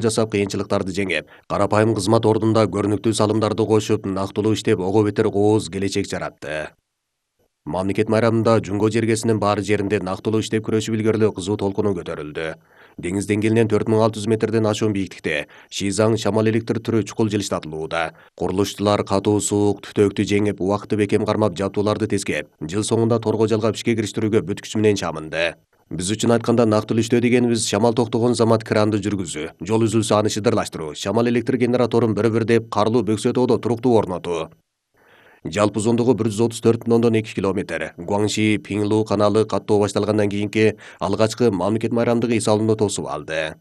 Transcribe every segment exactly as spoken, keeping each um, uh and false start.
жасап кыйынчылыктарды жеңип, карапайым кызмат ордунда көрүнүктүү салымдарды кошуп, нактылуу иштеп, ого бетер кооз келечек жаратты. Мамлекет майрамында Жунго жергесинин баары жеринде нактылуу иштеп күрөшүп илгерилөө кызуу толкуну көтөрүлдү. Деңиз деңгээлинен төрт миң алты жүз метрден ашуун бийиктикте Шизаң шамал электр түрү чукул жылыштатылууда. Курулушчулар катуу суук түтөктү жеңип, убакытты бекем кармап, жабдууларды тескеп, жыл соңунда торго жалгап ишке кириштирүүгө бүт күчү менен чамынды. Биз үчүн айтканда нактылуу иштөө дегенибиз шамал токтогон замат кранды жүргүзүү, жол үзүлсө аны шыдырлаштыруу, шамал электр генераторун бир-бир деп карлуу бөксөтоодо туруктуу орнотуу. Жалпы узундугу бир жүз отуз төрт бүтүн ондон эки километр. Гуаңши Пиңлу каналы каттоо башталгандан кийинки алгачкы мамлекет майрамдык эс алууну тосуп алды.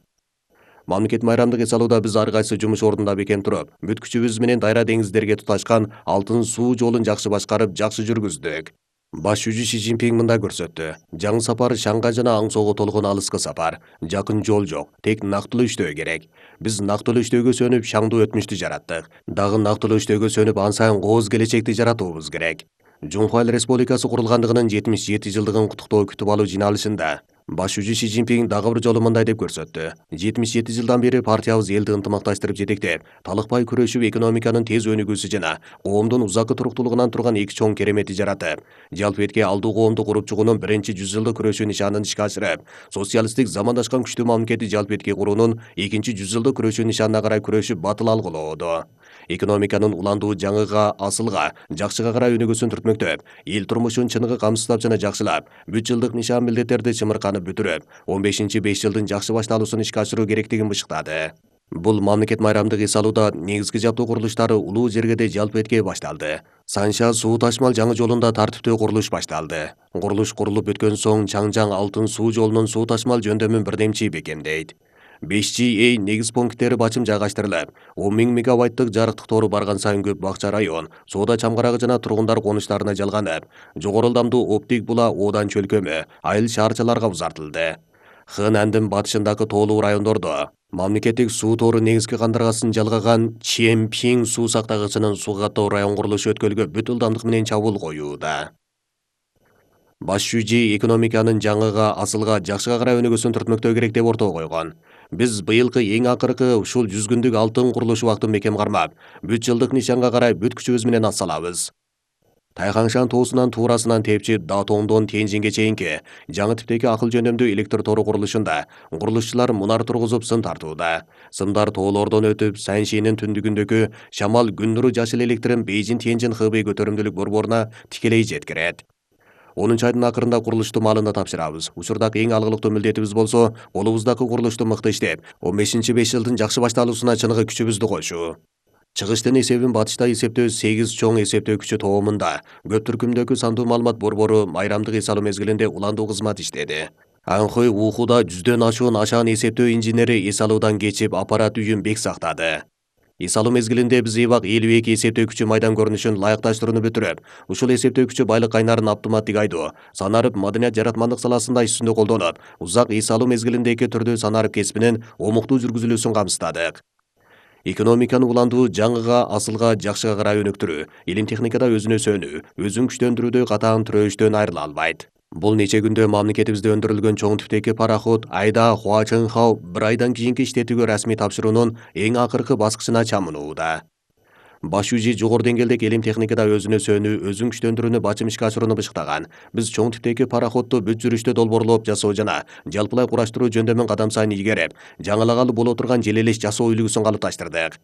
Мамлекет майрамдык эс алууда биз ар кайсы жумуш ордунда бекем туруп, бүт күчүбүз менен дайра деңиздерге туташкан алтын суу жолун жакшы башкарып, жакшы жүргүздүк. Баш жүзү Си Цзиньпин мындай көрсөттү. Жаңы сапар шаңга жана Аңсоого толгон алыскы сапар. Жакын жол жок, тек нактылуу иштөө керек. Биз нактылуу иштөөгө сөнүп, шаңдуу өтмүштү жараттык. Дагы нактылуу иштөөгө сөнүп, ан сайын кооз келечекти жаратуубуз керек. Жунхуа Эл Республикасы курулгандыгынын жетимиш жети жылдыгын куттуктоо күтүп алуу жыйналышында баш жүзү Си Цзиньпин дагы бир жолу мындай деп көрсөттү. жетимиш жети жылдан бери партиябыз элди ынтымакташтырып жетектеп, талыкпай күрөшүп, экономиканын тез өнүгүүсү жана коомдун узакы туруктуулугунан турган эки чоң кереметти жаратып, жалпыбетке алдуу коомду куруп чыгуунун биринчи жүз жылдык күрөшүү нишанын ишке ашырып, социалисттик замандашкан күчтүү мамлекетти жалпыбетке куруунун экинчи жүз жылдык күрөшүү нишанына карай күрөшүп батыл алгылоодо. Экономиканын уландуу жаңыга, асылга, жакшыга карай өнүгүүсүн түртмөктөп, эл турмушун чыныгы камсыздап жана жакшылап, бүт жылдык нишан милдеттерди чымырканып бүтүрүп, он бешинчи беш жылдын жакшы башталуусун ишке ашыруу керектигин бышыктады. Бул мамлекет майрамдык эс алууда негизги жабдуу курулуштары улуу жергеде жалпыбетке башталды. Санша суу ташмал жаңы жолунда тартиптүү курулуш башталды. Курулуш курулуп бүткөн соң Чаңжаң алтын суу жолунун суу ташмал жөндөмүн бирдемчи бекемдейт. беш жи эй негиз пункттери бачым жайгаштырылып, он миң мегабайттык жарыктык тору барган сайын көп бакча район, соода чамгарагы жана тургундар конуштарына жалганып, жогору ылдамдуу оптик була Одан чөлкөмү, айыл шаарчаларга узартылды. Хэнандын батышындагы тоолуу райондордо мамлекеттик суу тору негизги кандыргасын жалгаган Чемпиң суу сактагычынын суу каттоо район курулушу өткөлгө бүт ылдамдык менен чабуул коюуда. Баш жүзү экономиканын жаңыга, асылга, жакшыга карай өнүгүүсүн түртмөктөө керек деп ортого койгон. Биз быйылкы эң акыркы ушул жүз күндүк алтын курулуш убактын бекем кармап, бүт жылдык нишанга карай бүт күчүбүз менен ат салабыз. Тайхаңшан тоосунан туурасынан тепчип, Датоңдон Тяньжинге чейинки жаңы типтеги акыл жөндөмдүү электр тору курулушунда курулушчулар мунар тургузуп сын тартууда. Сымдар тоолордон өтүп, Саньшинин түндүгүндөгү Шамал күн нуру жашыл электрин Бейжин Тяньжин Хэбэй көтөрүмдүүлүк борборуна тикелей жеткирет. онунчу айдын акырында курулушту маалына тапшырабыз. Учурдагы эң алгылыктуу милдетибиз болсо, колубуздагы курулушту мыкты иштеп, он бешинчи беш жылдын жакшы башталуусуна чыныгы күчүбүздү кошуу. Чыгыштын эсебин батышта эсептөө сегиз чоң эсептөө күчү тоомунда көп түркүмдөгү сандуу маалымат борбору майрамдык эс алуу мезгилинде уландуу кызмат иштеди. Анхой Ухуда жүздөн ашуун ашаан эсептөө инженери эс алуудан кечип, аппарат үйүн бек сактады. Эс алуу мезгилинде биз эбак элүү эки эсептөө күчү майдан көрүнүшүн ылайыкташтырууну бүтүрүп, ушул эсептөө күчү байлык кайнарын автоматтык айдоо, санарып маданият жаратмандык саласында иш жүзүндө колдонуп, узак эс алуу мезгилинде эки түрдүү санарып кесибинин омуктуу жүргүзүлүүсүн камсыздадык. Экономиканы уландуу, жаңыга, асылга, жакшыга карай өнүктүрүү, илим техникада өзүнө сөнүү, өзүн күчтөндүрүүдө катаан түрөөштөн айрыла албайт. Бул нече күндө мамлекетибизде өндүрүлгөн чоң типтеги пароход Айда Хуачынхау бир айдан кийинки иштетүүгө расмий тапшыруунун эң акыркы баскычына чамынууда. Баш жүзү жогору деңгээлдеги илим техникада өзүнө сөнүү, өзүн күчтөндүрүүнү бачым ишке ашырууну бышыктаган. Биз чоң типтеги пароходду бүт жүрүштө долбоорлоп жасоо жана жалпылай кураштыруу жөндөмүн кадам сайын илгерип, жаңылагалы боло турган желелеш жасоо үлгүсүн калыпташтырдык.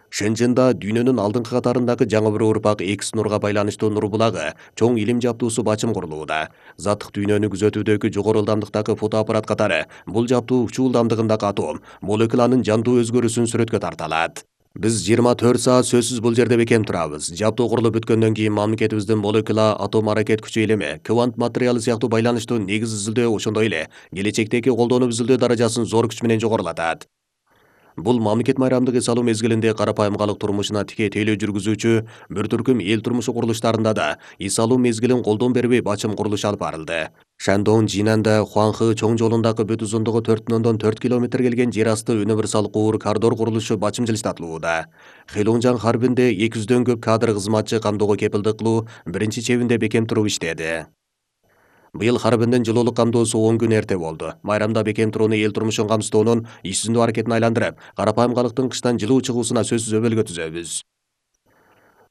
Шэньчжэнда дүйнөнүн алдыңкы катарындагы жаңы бир урпак Экс нурга байланыштуу нур булагы, чоң илим жабдуусу бачым курулууда. Заттык дүйнөнү күзөтүүдөгү жогору ылдамдыктагы фотоаппарат катары бул жабдуу учуу ылдамдыгындагы атом, молекуланын жандуу өзгөрүүсүн сүрөткө тарта алат. Биз жыйырма төрт саат сөзсүз бул жерде бекем турабыз. Жабдуу курулуп бүткөндөн кийин мамлекетибиздин молекула, атом аракет күчү илими, квант материалы сыяктуу байланыштуу негиз изилдөө ошондой эле келечектеги колдонуп изилдөө даражасын зор күч менен жогорулатат. Бул мамлекет майрамдык эс алуу мезгилинде карапайым калык турмушуна тике тейлөө жүргүзүүчү бир түркүм эл турмушу курулуштарында да эс алуу мезгилин колдон бербей бачым курулуш алып барылды. Шандон Жинанда Хуанхы чоң жолундагы бүт узундугу төрт бүтүн ондон төрт километр келген жер асты универсал куур коридор курулушу бачым жылыштатылууда. Хэлонжан харбинде эки жүздөн көп кадр кызматчы камдоого кепилдик кылуу биринчи чебинде бекем туруп иштеди. Быйыл Харбиндин жылуулук камдоосу он күн эрте болду. Майрамда бекем турууну эл турмушун камсыздоонун иш жүзүндүү аракетин айландырып, карапайым калктын кыштан жылуу чыгуусуна сөзсүз өбөлгө түзөбүз.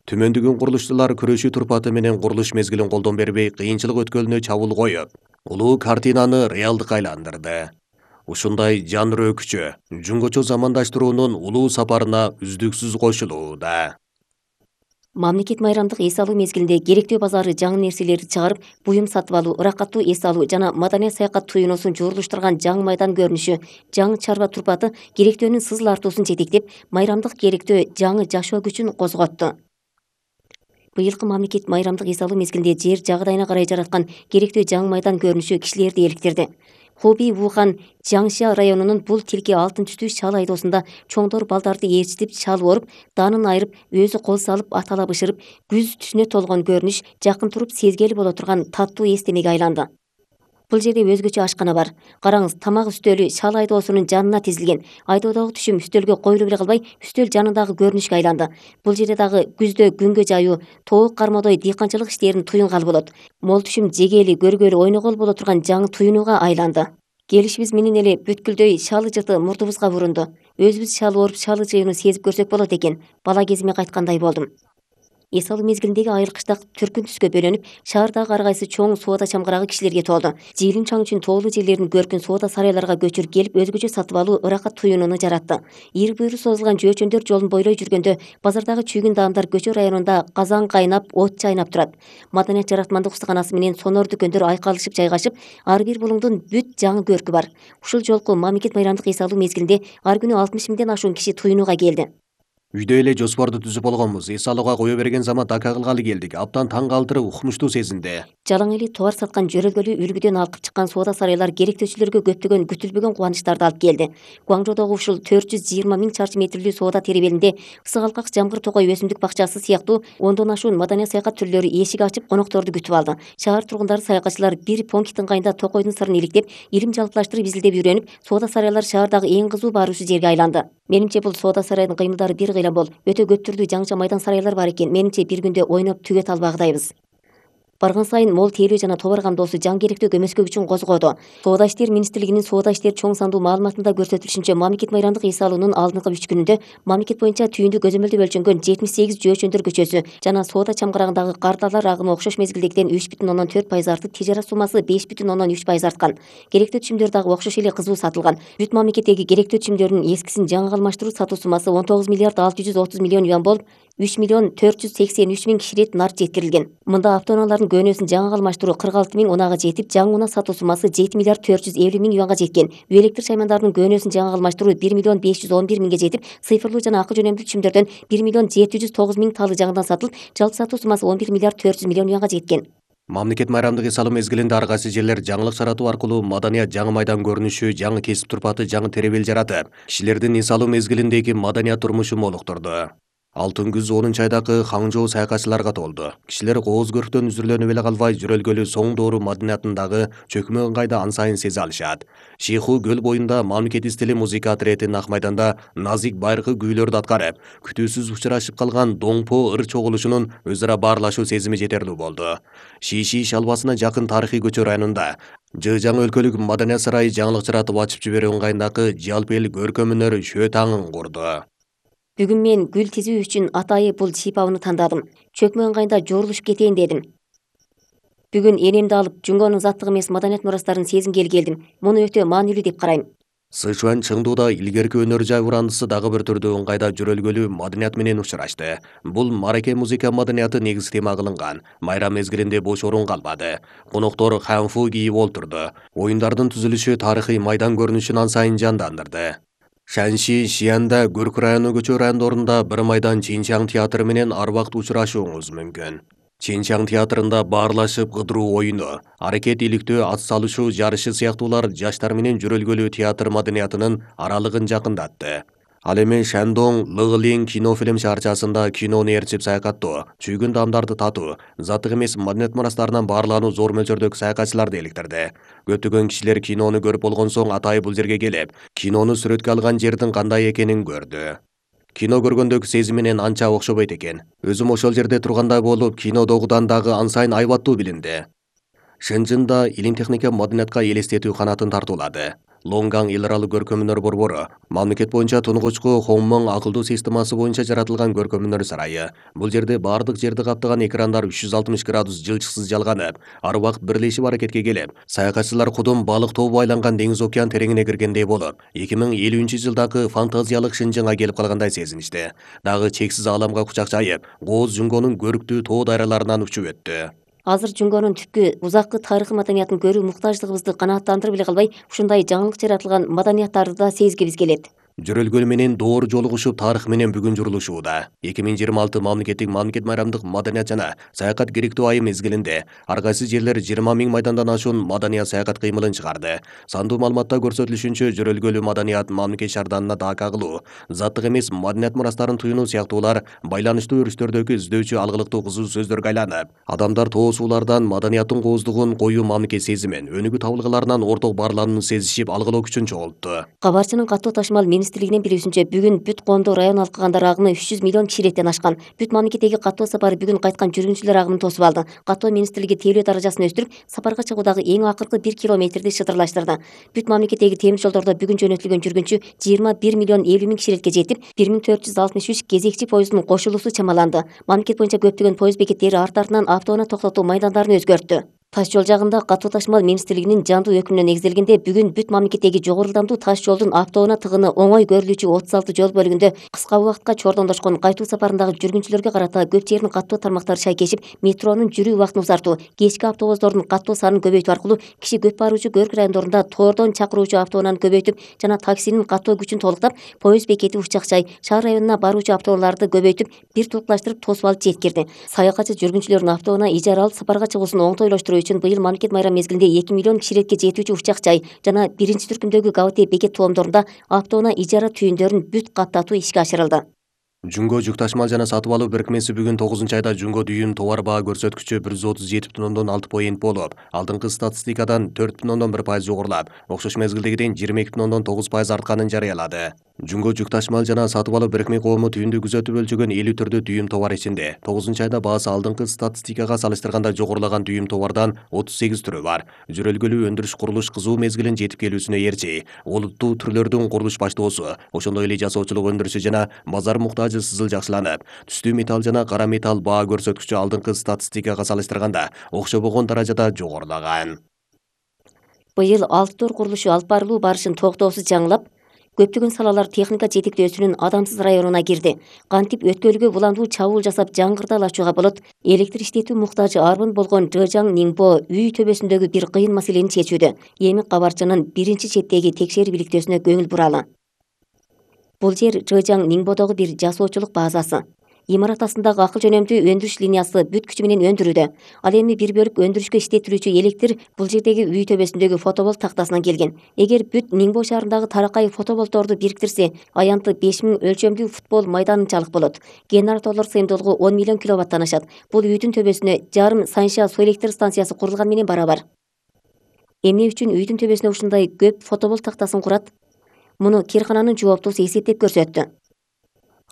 Түмөндүгүн курулушчулар күрөшүү турпаты менен курулуш мезгилин колдон бербей, кыйынчылык өткөлүнө чабуул коюп, улуу картинаны реалдыкка айландырды. Ушундай жан рөөкүчө, жунгочо замандаштыруунун улуу сапарына үздүксүз кошулууда. Мамлекет майрамдык эс алуу мезгилинде керектүү базары жаңы нерселерди чыгарып, буюм сатып алуу, ыракаттуу эс алуу жана маданий саякат туюнуусун жуурулуштурган жаңы майдан көрүнүшү, жаңы чарба турпаты керектөөнүн сызыл артуусун жетектеп, майрамдык керектөө жаңы жашоо күчүн козготту. Быйылкы мамлекет майрамдык эс алуу мезгилинде жер жагыдайына карай жараткан керектөө жаңы майдан көрүнүшү кишилерди эликтирди. Хуби Вухан Жаңшия районунун бул тилки алтын түстүү шал айдоосунда чоңдор балдарды ээрчитип шал оруп, данын айырып, өзү кол салып атала бышырып, күз түсүнө толгон көрүнүш жакын туруп сезгели боло турган таттуу эстемеге айланды. Бул жерде өзгөчө ашкана бар. Караңыз, тамак үстөлү шал айдоосунун жанына тизилген. Айдоодогу түшүм үстөлгө коюлуп эле калбай, үстөл жанындагы көрүнүшкө айланды. Бул жерде дагы күздө күнгө жаюу, тоок кармоодой дыйканчылык иштерин туюнгалы болот. Мол түшүм жегели, көргөлү, ойногол боло турган жаңы туюнууга айланды. Келишибиз менен эле бүткүлдөй шалы жыты мурдубузга урунду. Өзүбүз шал оруп, шалы жыйууну сезип көрсөк болот экен. Бала кезиме кайткандай болдум. Эс алуу мезгилиндеги айыл кыштак түркүн түскө бөлөнүп, шаардагы ар кайсы чоң соода чамгарагы кишилерге толду. Жыйылым чаң үчүн тоолуу жерлердин көркүн соода сарайларга көчүрүп келип, өзгөчө сатып алуу, ыракат туюнууну жаратты. Ири буйру созулган жөөчөндөр жолун бойлой жүргөндө, базардагы чүйгүн даамдар көчө районунда казан кайнап, от чайнап турат. Маданият жаратмандык устаканасы менен сонор дүкөндөр айкалышып жайгашып, ар бир булуңдун бүт жаңы көркү бар. Ушул жолку мамлекет майрамдык эс алуу мезгилинде ар күнү алтымыш миңден ашуун киши туюнууга келди. Үйдө эле жоспорду түзүп болгонбуз. Эс алууга кое берген замат ака кылгалы келдик. Абдан таң калтырып, укмуштуу сезинди. Жалаң эли товар саткан жөрөлгөлүү үлгүдөн алкып чыккан соода сарайлар керектөөчүлөргө көптөгөн күтүлбөгөн кубанычтарды алып келди. Гуаңжоодогу ушул төрт жүз жыйырма миң чарчы метрлүү соода теребелинде ысык алкак жамгыр токой өсүмдүк бакчасы сыяктуу ондон ашуун маданий саякат түрлөрү эшик ачып конокторду күтүп алды. Шаар тургундары, саякатчылар бир понкиттин ыңгайында токойдун сырын иликтеп, илим жалпылаштырып изилдеп үйрөнүп, соода сарайлар шаардагы эң кызуу баруучу жерге айланды. Менимче бул соода сарайдын кыймылдары бир кыйла бол, өтө көп түрдүү жаңыча майдан сарайлар бар экен. Менимче бир күндө ойноп түгөт албагыдайбыз. Барган сайын мол тейлөө жана товар камдоосу жаңы керектөө көмөскө күчүн козгоду. Соода иштер министрлигинин соода иштер чоң сандуу маалыматында көрсөтүлүшүнчө, мамлекет майрамдык эс алуунун алдыңкы үч күнүндө мамлекет боюнча түйүндү көзөмөлдөп өлчөнгөн жетимиш сегиз жөөчөндөр көчөсү жана соода чамгарагындагы кардалар агымы окшош мезгилдегиден үч бүтүн ондон төрт пайыз артып, тижарат суммасы беш бүтүн ондон үч пайыз арткан. Керектөө түшүмдөр дагы окшош эле кызуу сатылган. Бүт мамлекеттеги керектөө түшүмдөрдүн эскисин жаңыга алмаштыруу сатуу суммасы он тогуз миллиард алты жүз отуз миллион юан болуп, үч миллион төрт жүз сексен үч миң киширет нар жеткирилген. Мында автоунаалардын көөнөсүн жаңыга алмаштыруу кырк алты миң унага жетип, жаңы унаа сатуу суммасы жети миллиард төрт жүз элүү миң юанга жеткен. Үй электр шаймандарынын көөнөсүн жаңыга алмаштыруу бир миллион беш жүз он бир миңге жетип, цифрлуу жана акы жөнөмдүү түшүмдөрдөн бир миллион жети жүз тогуз миң талы жаңыдан сатылып, жалпы сатуу суммасы он бир миллиард төрт жүз миллион юанга жеткен. Мамлекет майрамдык эс алуу мезгилинде ар кайсы жерлер жаңылык жаратуу аркылуу маданият жаңы майдан көрүнүшү, жаңы кесип турпаты, жаңы теребел жаратып, кишилердин эс алуу мезгилиндеги маданият турмушу молуктурду. Алтын күз онунчу айдагы Хаңжоо саякатчыларга толду. Кишилер кооз көрктөн үзүрүлөнүп эле калбай, жүрөлгөлү соң доору маданиятындагы чөкмө ыңгайды ан сайын сезе алышат. Шейху көл боюнда мамлекет стили музыка отрядын ак майданда назик байыркы күүлөрдү аткарып, күтүүсүз учурашып калган доңпо ыр чогулушунун өз ара баарлашуу сезими жетерлүү болду. Шиши шалбасына жакын тарыхый көчө районунда Жы жаңы өлкөлүк маданият сарайы жаңылык жаратып ачып жиберүү ыңгайындагы жалпы эл көркөм өнөр шөө таңын курду. Бүгүн мен гүл тизүү үчүн атайы бул шипабыны тандадым. Чөкмө ыңгайында жорулушуп кетейин дедим. Бүгүн энемди алып, Жунгонун заттык эмес маданият мурастарын сезингели келдим. Муну өтө маанилүү деп карайм. Сычуань Чыңдууда илгерки өнөр жай урандысы дагы бир түрдүү ыңгайда жүрөлгөлүү маданият менен учурашты. Бул мараке музыка маданияты негиз тема кылынган. Майрам мезгилинде бош орун калбады. Коноктор ханфу кийип олтурду. Оюндардын түзүлүшү тарыхый майдан көрүнүшүн ан сайын жандандырды. Шанши Шиянда Көркү району көчө райондорунда бир майдан Чинчаң театры менен ар убакыт учурашууңуз мүмкүн. Чинчаң театрында баарлашып кыдыруу оюну, аракет иликтөө, ат салышуу жарышы сыяктуулар жаштар менен жүрөлгөлүү театр маданиятынын аралыгын жакындатты. Ал эми Шандоң Лыгылин кинофильм шаарчасында кинону ээрчип саякаттоо, чүйгүн даамдарды татуу, заттык эмес маданият мурастарынан баарлануу зор мөлчөрдөгү саякатчыларды эликтирди. Көптөгөн кишилер кинону көрүп болгон соң атайы бул жерге келип, кинону сүрөткө алган жердин кандай экенин көрдү. Кино көргөндөгү сезим менен анча окшобойт экен. Өзүм ошол жерде тургандай болуп, кинодогудан дагы ан сайын айбаттуу билинди. Шэньчжэнда илим техника маданиятка элестетүү канатын тартуулады. Лонган эл аралык көркөмүнөр борбору мамлекет боюнча тунугучку Хонмон акылдуу системасы боюнча жаратылган көркөмүнөр сарайы. Бул жерде бардык жерди каптаган экрандар үч жүз алтымыш градус жылчыксыз жалганып, ар убакыт бирлешип аракетке келип, саякатчылар кудум балык тобу айланган деңиз океан тереңине киргендей болуп, эки миң элүүнчү жылдагы фантазиялык Шэньчжэнга келип калгандай сезиништи. Дагы чексиз ааламга кучак жайып, Кооз Жүнгөнүн көрктүү тоо дайраларынан учуп өттү. Азыр Жүнгөнүн түпкү узаккы тарыхый маданиятын көрүү муктаждыгыбызды канааттандырып эле калбай, ушундай жаңылык жаратылган маданияттарды да сезгибиз келет. Жөрөлгөл менен доор жолугушуп тарых менен бүгүн журулушууда. эки миң жыйырма алты мамлекеттик мамлекет майрамдык маданият жана саякат керектүү айы мезгилинде ар кайсы жерлер жыйырма миң майдандан ашуун маданият саякат кыймылын чыгарды. Сандуу маалыматта көрсөтүлүшүнчө жөрөлгөлүү маданият, мамлекет шаарданына дака кылуу, заттык эмес маданият мурастарын туюнуу сыяктуулар байланыштуу өрүштөрдөгү издөөчү алгылыктуу кызуу сөздөргө айланып, адамдар тоо суулардан маданияттын кооздугун, коюу мамлекет сезимин, өнүгүү табылгаларынан орток баарланууну сезишип, алгылоо күчүн чогултту. Кабарчынын каттоо ташмал министрлигинен билүүсүнчө, бүгүн бүт коомдо район алкагандар агымы үч жүз миллион кишилеттен ашкан. Бүт мамлекеттеги каттоо сапары бүгүн кайткан жүргүнчүлөр агымын тосуп алды. Каттоо министрлиги тейлөө даражасын өстүрүп, сапарга чыгуудагы эң акыркы бир километрди шытырлаштырды. Бүт мамлекеттеги темир жолдордо бүгүн жөнөтүлгөн жүргүнчү жыйырма бир миллион элүү миң кишилекке жетип, бир миң төрт жүз алтымыш үч кезекчи поезддун кошулуусу чамаланды. Мамлекет боюнча көптөгөн поезд бекеттери арты-артынан автоунаа токтотуу майдандарын өзгөрттү. Таш жол жагында каттоо ташмал министрлигинин жандуу өкүмүнө негизделгенде, бүгүн бүт мамлекеттеги жогору ылдамдуу таш жолдун автоунаа тыгыны оңой көрүлүүчү отуз алты жол бөлүгүндө кыска убакытка чордондошкон кайтуу сапарындагы жүргүнчүлөргө карата көп жердин каттоо тармактары шайкешип, метронун жүрүү убактын узартуу, кечки автобустардын каттоо санын көбөйтүү аркылуу киши көп баруучу көрк райондорунда тоордон чакыруучу автоунааны көбөйтүп жана таксинин каттоо күчүн толуктап, поезд бекети Учакчай, шаар районуна баруучу автоунааларды көбөйтүп, бир тукташтырып тосуп алып жеткирди. Саякатчы жүргүнчүлөрдүн автоунаа ижара алып сапарга чыгуусун оңтойлоштуруу үчүн быйыл мамлекет майрам мезгилинде эки миллион кишилекке жетүүчү Учакчай жана биринчи түркүмдөгү ГАВТ бекет тоомдорунда автоунаа ижара түйүндөрүн бүт каттатуу ишке ашырылды. Жүнгө жүк ташмал жана сатып алуу беркмеси бүгүн тогузунчу айда Жүнгө дүйүн товар баа көрсөткүчү бир жүз отуз жети бүтүн ондон алты поинт болуп, алдыңкы статистикадан төрт бүтүн ондон бир пайыз жогорулап, окшош мезгилдегиден жыйырма эки бүтүн ондон тогуз пайыз артканын жарыялады. Жүнгө жүк ташмал жана сатып алуу беркме коому түйүндү күзөтүп өлчөгөн элүү түрдүү дүйүм товар ичинде тогузунчу айда баасы алдыңкы статистикага салыштырганда жогорулаган дүйүм товардан отуз сегиз түрү бар. Жөрөлгөлүү өндүрүш курулуш кызуу мезгилин жетип келүүсүнө ээрчи, олуттуу түрлөрдүн курулуш баштоосу, ошондой эле жасоочулук өндүрүшү жана базар муктажы сызыл жакшыланып, түстүү металл жана кара металл баа көрсөткүчү алдыңкы статистикага салыштырганда окшобогон даражада жогорулаган. Быйыл алты тор курулушу алып барылуу барышын токтоосуз жаңылап, көптөгөн салалар техника жетектөөсүнүн адамсыз районуна кирди. Кантип өткөлгө буландуу чабуул жасап жаңгырдал ачууга болот? Электр иштетүү муктажы арбын болгон Жэжаң Ниңбо үй төбөсүндөгү бир кыйын маселени чечүүдө. Эми кабарчынын биринчи четтеги текшерүү иликтөөсүнө көңүл буралы. Бул жер Жэжаң Ниңбодогу бир жасоочулук базасы. Имарат астындагы акыл жөнөмдүү өндүрүш линиясы бүт күчү менен өндүрүүдө. Ал эми бир бөлүк өндүрүшкө иштетилүүчү электр бул жердеги үй төбөсүндөгү фотоболт тактасынан келген. Эгер бүт Ниңбо шаарындагы таракай фотоболтторду бириктирсе, аянты беш миң өлчөмдүү футбол майданынчалык болот. Генераторлор сыйымдуулугу он миллион киловаттан ашат. Бул үйдүн төбөсүнө жарым Саньша суу электр станциясы курулган менен барабар. Эмне үчүн үйдүн төбөсүнө ушундай көп фотоболт тактасын курат? Муну киркананын жооптуусу эсептеп көрсөттү.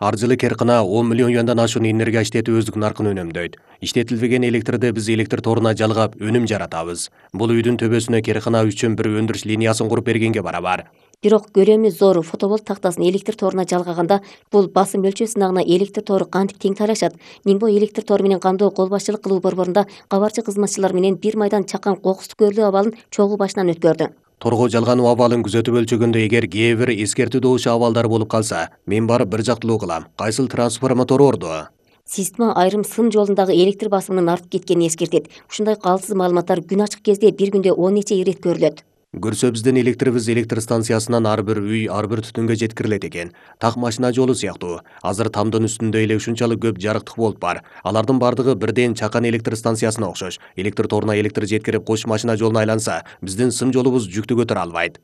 Ар жылы керкана он миллион юандан ашуун энергия иштетип өздүк наркын өнөмдөйт. Иштетилбеген электрди биз электр торуна жалгап, өнүм жаратабыз. Бул үйдүн төбөсүнө керкана үчүн бир өндүрүш линиясын куруп бергенге барабар. Бирок көрөмү зор фотоболт тактасын электр торуна жалгаганда бул басым өлчөө сынагына электр тору кантип тең талашат? Ниңбо электр тору менен кандоо кол башчылык кылуу борборунда кабарчы кызматчылар менен бир майдан чакан кокустук көрлүү абалын чогуу башынан өткөрдү. Торго жалгануу абалын күзөтүп өлчөгөндө эгер кээ бир эскертүү добушу абалдар болуп калса, мен барып бир жактылуу кылам. Кайсыл трансформатор орду? Система айрым сын жолундагы электр басымынын артып кеткенин эскертет. Ушундай калсыз маалыматтар күн ачык кезде бир күндө он нече ирет көрүлөт. Көрсө биздин электрибиз электр станциясынан ар бир үй, ар бир түтүнгө жеткирилет экен. Так машина жолу сыяктуу. Азыр тамдын үстүндө эле ушунчалык көп жарыктык болуп бар. Алардын бардыгы бирден чакан электр станциясына окшош. Электр торуна электр жеткирип кош машина жолуна айланса, биздин сым жолубуз жүктү көтөрө албайт.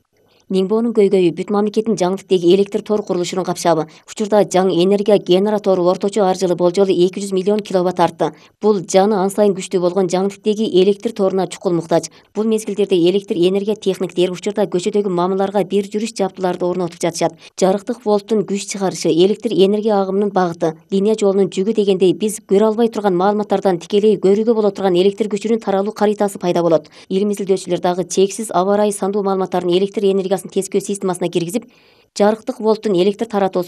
Ниңбоонун көйгөйү бүт мамлекеттин жаңдыктеги электр тор курулушунун капшабы. Учурда жаң энергия генератору орточо ар жылы болжолу эки жүз миллион киловатт артты. Бул жаны ан сайын күчтүү болгон жаңдыктеги электр торуна чукул муктаж. Бул мезгилдерде электр энергия техниктери учурда көчөдөгү мамыларга бир жүрүш жабдууларды орнотуп жатышат. Жарыктык волттун күч чыгарышы, электр энергия агымынын багыты, линия жолунун жүгү дегендей биз көрө албай турган маалыматтардан тикелей көрүүгө боло турган электр күчүнүн таралуу каритасы пайда болот. Илим изилдөөчүлөр дагы чексиз аба ырайы сандуу маалыматтарын электр энергиясын тескөө системасына киргизип, жарыктык волттун электр таратуусу